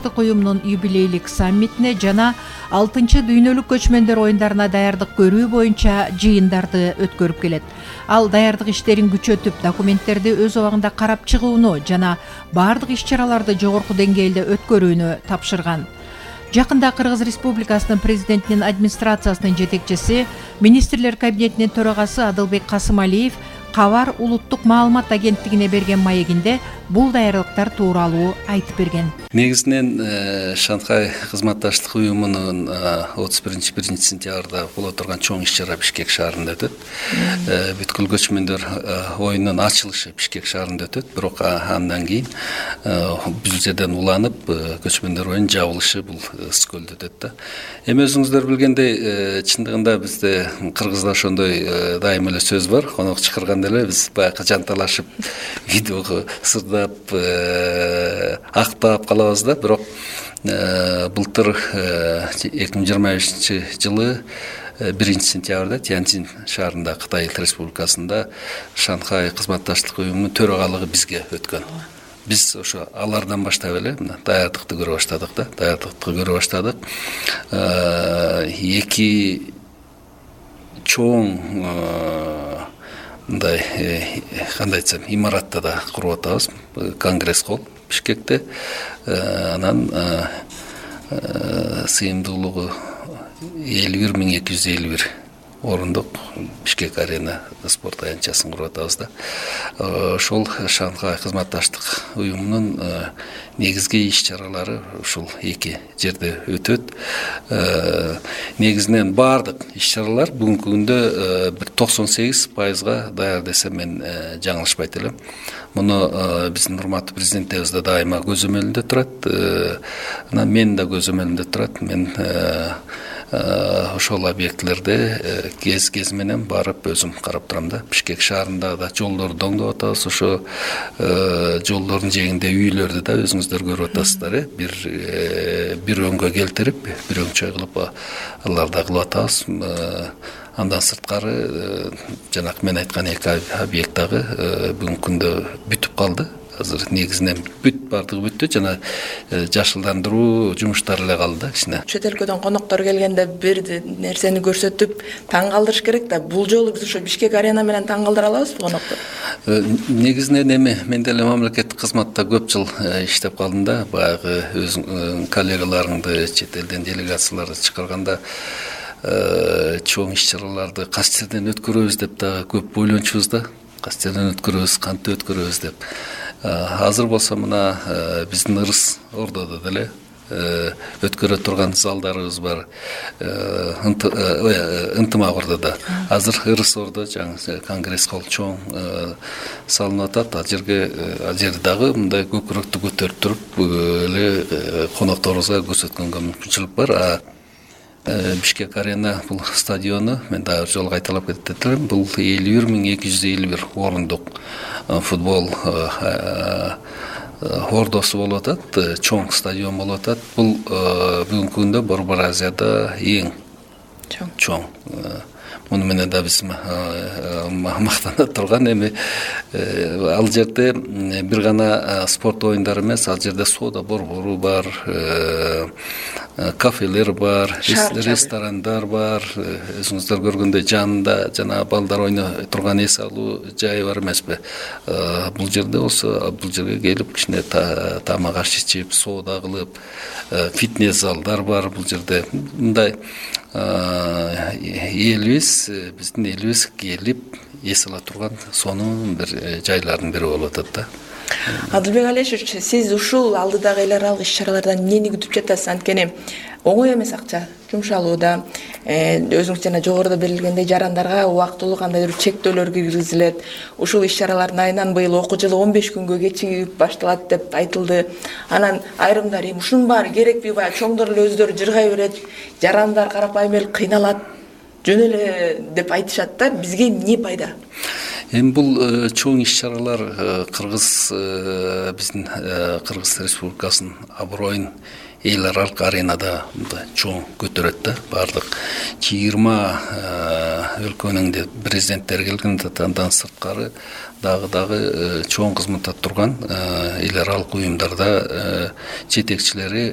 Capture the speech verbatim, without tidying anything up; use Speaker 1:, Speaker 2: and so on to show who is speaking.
Speaker 1: кызматташтык уюмунун юбилейлик саммитине жана алтынчы дүйнөлүк көчмөндөр оюндарына даярдык көрүү боюнча жыйындарды өткөрүп келет. Ал даярдык иштерин күчөтүп, документтерди өз убагында карап чыгууну жана бардык иш-чараларды жогорку деңгээлде өткөрүүнү тапшырган. Жакында Кыргыз Республикасынын президентинин администрациясынын жетекчиси, министрлер кабинетинин төрагасы Адылбек Касымалиев Кабар улуттук маалымат агенттигине берген маегинде бул даярдыктар тууралуу айтып берген.
Speaker 2: Негизинен Шанхай кызматташтык уюмунун отуз биринчи биринчи сентябрда боло турган чоң иш-чара Бишкек шаарында өтөт. Бүткүл көчмөндөр оюнунун ачылышы Бишкек шаарында өтөт. Бирок андан кийин бул жерден уланып көчмөндөр оюнунун жабылышы бул Скөлдө өтөт да. Эми өзүңүздөр билгендей, чындыгында бизде кыргызда ошондой дайым эле сөз бар. Конок чакырганда эле биз баягы жанталашып, видеого сырдап, актап калабыз да. Бирок былтыр эки миң жыйырма бешинчи жылы биринчи сентябрда Тяньцзин шаарында, Кытай Республикасында Шанхай кызматташтык уюмунун төрагалыгы бизге өткөн. Биз ошо алардан баштап эле даярдыкты көрө баштадык да, даярдыкты көрө баштадык. Эки чоң мындай кандай айтсам, имаратта да куруп атабыз. Конгресс холл Бишкекте, анан сыйымдуулугу элүү бир миң эки жүз элүү бир орундук Бишкек арена спорт аянтчасын куруп атабыз да. Ошол Шанхай кызматташтык уюмунун негизги иш-чаралары ушул эки жерде өтөт. Негизинен бардык иш-чаралар бүгүнкү күндө бир токсон сегиз пайызга даяр десем мен жаңылышпайт элем. Муну биздин урматтуу президентибиз да дайыма көзөмөлүндө турат. Анан мен да көзөмөлүмдө турат. Мен ошол объектлерде кез кез менен барып өзүм карап турам да. Бишкек шаарында да жолдорду оңдоп атабыз. Ошо жолдордун жээгинде үйлөрдү да өзүңүздөр көрүп атасыздар, э? Бир бир өңгө келтирип, бир өңчөй кылып аларды кылып атабыз. Андан сырткары жанакы мен айткан эки объект дагы бүгүнкү күндө бүтүп калды. Азыр негизинен бүт бардыгы бүттү, жана жашылдандыруу жумуштары эле калды да кичине.
Speaker 3: Чет өлкөдөн коноктор келгенде бир нерсени көрсөтүп таң калтырыш керек да. Бул жолу биз ошо Бишкек арена менен таң калтыра алабызбы коноктор?
Speaker 2: Негизинен эми мен деле мамлекеттик кызматта көп жыл иштеп калдым да. Баягы өз коллегаларыңды, чет элден делегацияларды чакырганда чоң иш-чараларды кайсы жерден өткөрөбүз деп дагы көп ойлончубуз да. Кайсы жерден өткөрөбүз, кантип өткөрөбүз деп. Азыр болсо мына биздин Ырыс Ордодо деле өткөрө турган залдарыбыз бар. Ынтымак Ордодо. Азыр Ырыс Ордо жаңы Конгресс холл чоң салынып атат. Ал жерге ал жерди дагы мындай көкүрөктү көтөрүп туруп эле конокторубузга көрсөткөнгө мүмкүнчүлүк бар. Бишкек арена бул стадиону мен дагы бир жолу кайталап кетет элем. Бул элүү бир миң эки жүз элүү бир орундук футбол ордосу болуп атат, чоң стадион болуп атат. Бул бүгүнкү күндө Борбор Азияда эң чоң. Муну менен да биз мактана турган. Эми ал жерде бир гана спорт оюндары эмес, ал жерде соода борбору бар, кафелер бар, ресторандар бар. Өзүңүздөр көргөндөй жанында жана балдар ойной турган эс алуу жайы бар эмеспи? Бул жерде болсо, бул жерге келип кичине тамак аш ичип, соода кылып, фитнес залдар бар бул жерде. Мындай элибиз, биздин элибиз келип эс ала турган сонун бир жайлардын бири болуп атат да.
Speaker 3: Адылбек Алешевич, сиз ушул алдыдагы эл аралык иш-чаралардан эмнени күтүп жатасыз? Анткени оңой эмес акча жумшалууда. Өзүңүз жана жогоруда берилгендей жарандарга убактылуу кандайдыр чектөөлөр киргизилет. Ушул иш-чаралардын айынан быйыл окуу жылы он беш күнгө кечигип башталат деп айтылды. Анан айрымдар эми ушунун баары керекпи? Баягы чоңдор эле өздөрү жыргай берет, жарандар карапайым эл кыйналат, жөн эле деп айтышат да. Бизге эмне пайда?
Speaker 2: Эми бул чоң иш-чаралар Кыргыз биздин Кыргыз Республикасынын аброюн эл аралык аренада чоң көтөрөт да. Бардык жыйырма өлкөнүн президенттери келген, андан сырткары дагы дагы чоң кызматта турган эл аралык уюмдарда жетекчилери